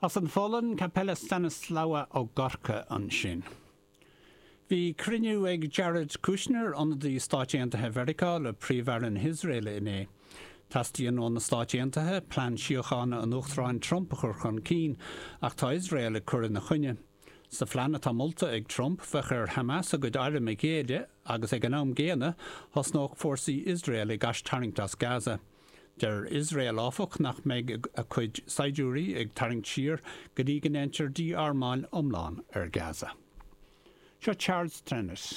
As an Pholainn, Kapela Stanislawa ó Gorka ansin. Bhí cruinniú ag Jared Kushner, ionadaí Stáit Aontaithe Mheiriceá, le Príomh-Aire na hIosraeile inné. Teastaíonn ó na Stáit Aontaithe plean síochána an Uachtaráin Trump a chur chun cinn, ach tá Iosrael ag cur ina choinne. Sa phlean atá molta ag Trump, bheadh ar Hamas a gcuid airm a ghéilleadh agus ag an am gcéanna, thosnódh fórsaí Iosrael ag aistarraingt as Gaza. Deir Iosrael, áfach, nach mbeidh a cuid saighdiúirí ag tarraingt siar go dtí go ndéantar dí-armáil iomlán ar Gaza. Seo Charles Trenet.